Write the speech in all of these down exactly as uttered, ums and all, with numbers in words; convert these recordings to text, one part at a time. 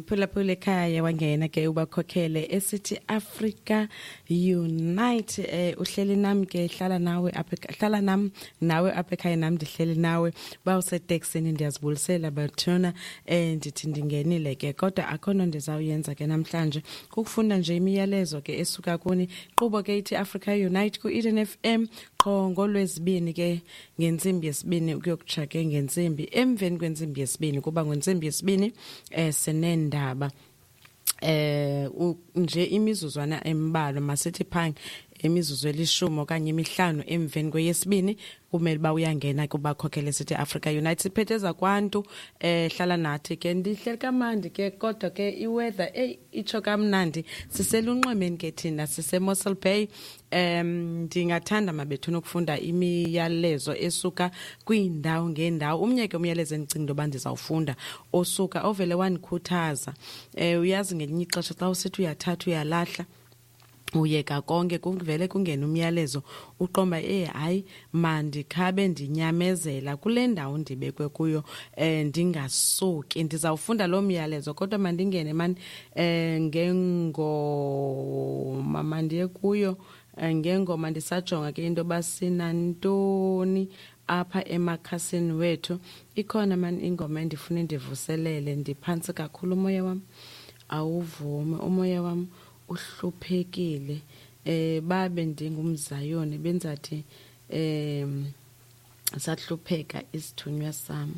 Mphulaphula ekhaya, wangena ke ubakhokhele esithi Africa Unite. eh uhleli nami ke, hlala nawe apha, hlala nam nawe apha ekhaya, nam ndihleli nawe. Bawuseteksini, ndiyazibulisela bathuna. eh ndithi ndingenile ke, kodwa akho nto ndizawuyenza ke namhlanje, kukufunda nje imiyalezo ke esuka kuni. Nkqubo ke ithi Africa Unite ku Eden F M qho ngolwezibini ke ngentsimbi yesibini ukuyokutsha ke ngentsimbi emveni kwentsimbi yesibini, kuba ngentsimbi yesibini eh sinendaba eh nje imizuzwana embalwa, masithi phang imizuzu elishumi okanye imihlanu emveni kweyesibini kumele uba uyangena kubakhokhele sithi Africa Unite. Siphethe zakwantu. eh hlala nathi ke. Ndihleli kamandi ke, kodwa ke iweather, ey, itsho kamnandi. Siselunxwemeni ke thina, sise-Mossel Bay. um ndingathanda mabethuna ukufunda imiyalezo esuka kwiindawo ngeendawo. Umnye ke umyalezo endicinga into yoba ndizawufunda osuka ovele wandikhuthaza. um uyazi ngelinye ixesha xa usithi uyathatha uyalahla, uyeka konke, kuvele kungena umyalezo, uqomba, eh hayi, mandikhabe ndinyamezela kule ndawo ndibekwe kuyo, eh ndingasuki. Ndizawufunda lo myalezo, kodwa mandingene mani eh ngengoma, mandiye kuyo ngengoma. Ndisajonga ke into yoba sinantoni apha emakhasini wethu. Ikhona mani ingoma endifuna ndivuselele. Ndiphantsi kakhulu, umoya wam awuvumi, umoya wam uhluphekile. eh babe ndingumzayoni, benzathi em sahlupheka isithunywa sam.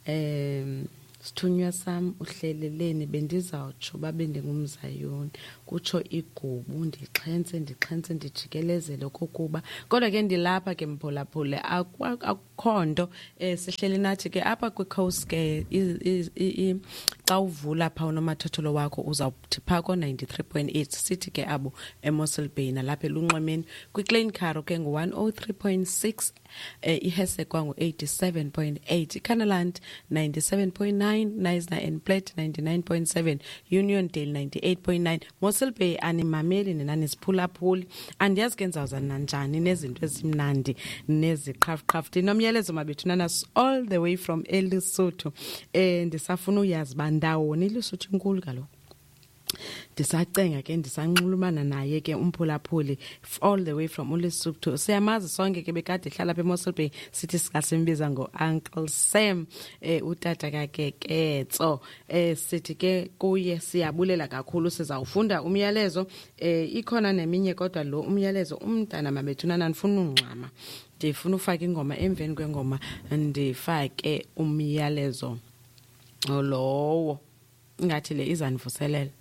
em sithunywa sam uhleleleni, bendizawutsho babe ndingumzayoni, kutsho igubu, ndixhentse ndixhentse ndijikelezele okokuba. Kodwa ke ndilapha ke, mphulaphule, akukho nto. um sihleli nathi ke apha kwicoast ke. Xa uvula phaa unomathotholo wakho, uzawuthi phaa ko-ninety-three point eight. Sithi ke abo eMossel Bay nalapha elunxwemeni, kwiKlein Karoo ke ngu-one oh three point six, eh iHessequa ngu-eighty-seven point eight, iKannaland ninety-seven point nine, Knysna and Plett ninety-nine point seven, Uniondale ninety-eight point nine. Mossel Bay animameli nina, nisiphulaphuli. Andiyazi ke ndizawuza nanjani nezinto ezimnandi neziqhafuqhafu. Ndinomyalezo mabethu nanas all the way from eLesotho. eh ndisafuna uyazi uba ndawoni iLesotho, inkulu kaloku. Ndisacenga ke, ndisanxulumana naye ke umphulaphuli all the way from uLesotho. Siyamazi sonke ke, bekade ehlala apha eMossel Bay, sithi singasimbiza ngo-Uncle Sam, eh utata kaKeketso. eh sithi ke kuye siyabulela kakhulu. Sizawufunda umyalezo. eh ikhona neminye, kodwa lo umyalezo umntana mabethuna, ndifuna ungxama, ndifuna ufaka ingoma, emveni kwengoma ndifake umyalezo lowo. Ingathi le izandivuselela.